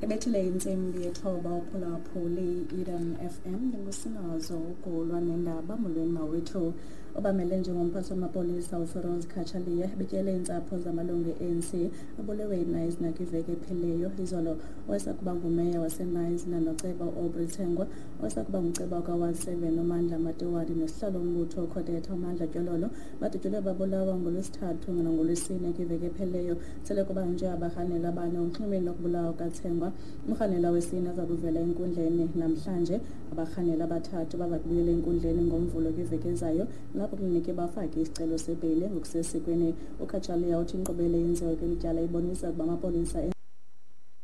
Ibethile intsimbi yethoba uphulaphuli Eden FM, ndingusinazo ukulwa nendaba. Molweni mawethu. Obamele njengomphathi wamapolisa uFeroz Cachalia betyele iintsapho zamalungu e-ANC abulewe yiKnysna kwiveki ephelileyo. Izolo owayesakuba ngumeya waseKnysna noceba uAubrey Tsengwa, owayesakuba nguceba kaWard 7 uMandla Matiwari nosihlalo wombutho uCodeta uMandla Tyololo badutyulwe babulawa ngoLwesithathu nangolwesine kwiveki ephelileyo. Sele kubanjwe abarhanelwa abane unxwemeni lokubulawa kaTsengwa. Umrhanelwa wesine aza kuvela enkundleni namhlanje. Abarhanelwa abathathu baza kubuyela enkundleni ngoMvulo kwiveki ezayo, lapho kufuneke bafake isicelo sebheyile ngokusesikweni. UCachalia uthi inkqubela eyenziwe kweli tyala ibonisa ukuba amapolisa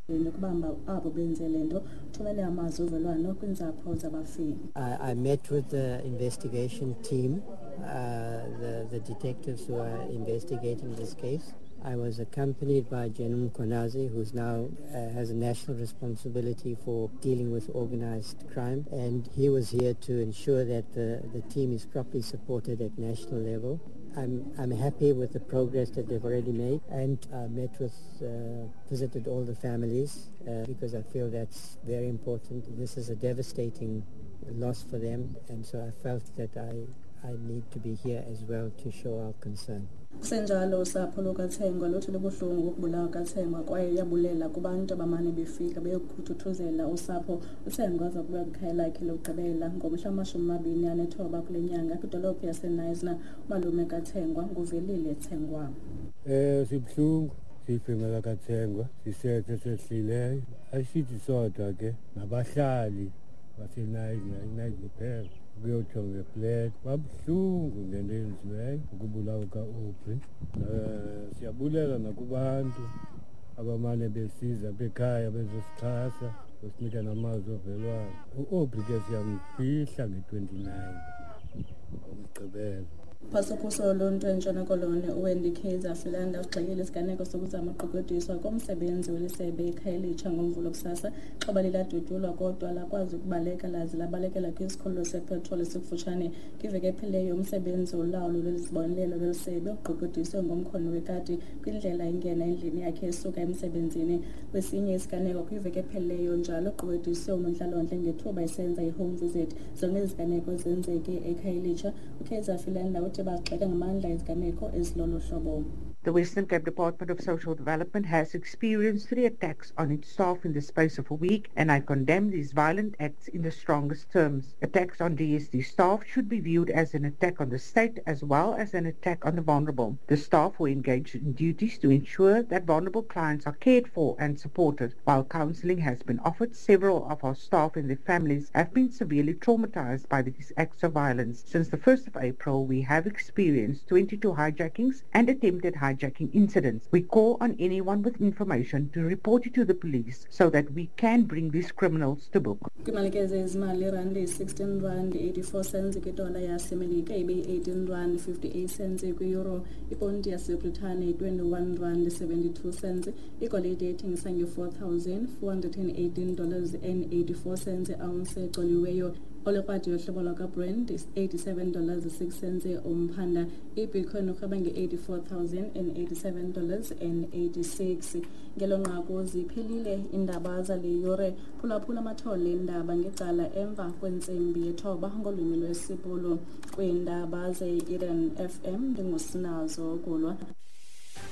nokubamba abo benze le nto. Uthumele amazwi ovelwano kwiintsapho zabafi. I met with the investigation team, the detectives who are investigating this case. I was accompanied by General Mkhwanazi, who's now has a national responsibility for dealing with organized crime, and he was here to ensure that the team is properly supported at national level. I'm happy with the progress that they've already made, and I visited all the families because I feel that's very important. This is a devastating loss for them, and so I felt that I need to be here as well to show our concern. Kusenjalo, usapho lukaTsengwa luthi lubuhlungu ukubulawa kaTsengwa kwaye uyabulela kubantu abamane befika beyokuthuthuzela usapho. UTsengwa aza kuba kwikhaya lakhe lokugqibela ngomhla wama-29 kule nyanga kwidolophu yaseKnysna. Umalume kaTsengwa nguVelile Tsengwa. Sibuhlungu siyifemela kaTsengwa, sisethe sehlileyo. Asithi sodwa ke, nabahlali baseKnysna, iKnysna kuphela ukuyotsho ngeplet, babuhlungu ngento eyenziweyo ukubulawa ka-Aubrey. Siyabulela nakubantu abamane besiza bekhaya bezosixhasa, besinika namazwi ovelwano. U-Aubrey ke siyamfihla nge-29 ngoMgqibelo. Phasophuso loluntu eNtshona Koloni uWendy Kaiser Philander usigxekile isiganeko sokuzama uqweqwediswa komsebenzi welisebe eKhayelitsha ngoMvulo kusasa. Ixhoba liladutyulwa kodwa lakwazi ukubaleka laze labalekela kwisikhululo sepetroli esikufutshane. Kwiveki ephelileyo umsebenzi wolawulo lwezibonelelo lwelisebe uqweqwediswe ngomkhono wekati kwindlela ingena endlini yakhe esuka emsebenzini. Kwesinye isiganeko kwiveki ephelileyo njalo uqweqwediswe unontlalontle ngethuba esenza i-home visit. Zonke ezi ziganeko zenzeke eKhayelitsha. UKaiser Philander uthi bazigxeka ngamandla iziganeko ezilolu hlobo. The Western Cape Department of Social Development has experienced 3 attacks on its staff in the space of a week, and I condemn these violent acts in the strongest terms. Attacks on DSD staff should be viewed as an attack on the state as well as an attack on the vulnerable. The staff were engaged in duties to ensure that vulnerable clients are cared for and supported. While counseling has been offered, several of our staff and their families have been severely traumatized by these acts of violence. Since the 1st of April, we have experienced 22 hijackings and attempted hijacking incidents. We call on anyone with information to report it to the police so that we can bring these criminals to book. Kwimalike zezimali, irandi yi-16 rand 84 cents kwidola yaseMelika, ibe yi-18 rand 58 cents kwi-euro, iponti yaseBritane yi-21 rand 72 cents, igolide ithengisa nge-$4,418 dollars and 84 cents ounce ecoliweyo. Olekrwada yohlobo lwakwaBrent is $87.06 umphanda. IBitcoin urhweba nge-$84,087.86. Ngelo nqaku ziphelile iindaba zale yure. Phulaphula amathole eendaba ngecala emva kwentsimbi yethoba ngolwimi lwesiBhulu. Kwiindaba ze-Eden FM ndingusinazo Gulwa.